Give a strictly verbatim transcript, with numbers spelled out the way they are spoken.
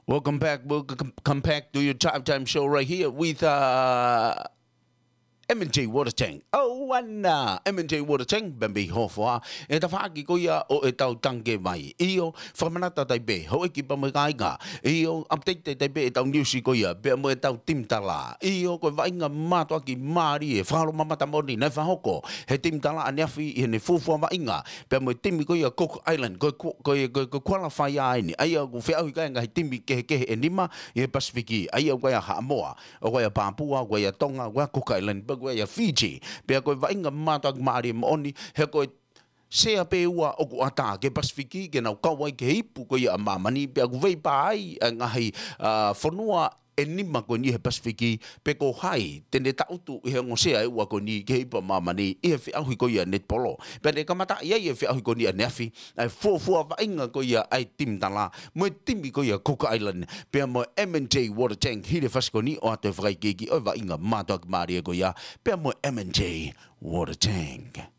Welcome back. We'll c-, come back to your drive time show right here with, uh, M and J Water Tank. Oh, and, uh, M and J Water Tank, pea mei Hofoa. ʻE tafaʻaki ko ia ʻo ʻetau tangikē vai. ʻIo, fakamanatu atu ai pē, houʻeiki pea mo e kāinga. ʻIo, update atu ai pē ʻetau news ko ia, pea mo ʻetau timi tala. ʻIo, ko e vaʻinga mātuʻaki mālie, fakalomamata moʻoni, naʻe fakahoko he timi tala ʻaneafi ʻi heʻene fuofua vaʻinga. Pea mo e timi ko ia Cook Island, ko e ku-, ko e, ko e, ko e qualifier eni. ʻA ia ʻoku feʻauhi ki ai e ngaahi timi kehekehe ʻe nima ʻi he Pasifiki. ʻA ia ʻoku ʻi ai ʻa Haʻamoa, ʻoku ʻi ai ʻa Papua, ʻoku ʻi ai ʻa Tonga, ʻoku ʻi ai ʻa Cook Island, pea ʻoku ʻi ai ʻa Fiji. Pea ko e vaʻinga mātuʻaki mālie moʻoni, he ko e sea pē ua ʻoku ʻatā ki he Pasifiki, ke nau kau ai ki he ipu ko ia ʻa māmani, pea ʻoku veipā ai ʻa e ngaahi, ā, fonua ʻe nima ko eni he Pasifiki, pe ko hai te ne tangutu ʻi he ongo sea ʻe ua ko eni ki he ipu ʻa māmani ʻi he feʻauhi ko ia netipolo. Pea ne kamataʻi ai e feʻauhi ko eni ʻaneafi, ʻa e fuofua vaʻinga ko ia ʻa e timi tala, mo e timi ko ia Cook Island, pea mo e M and J Water Tank, hili e fasi ko eni ʻoatu e fakaikiiki ʻo e vaʻinga mātuʻaki mālie ko ia, pea mo e M and J Water Tank.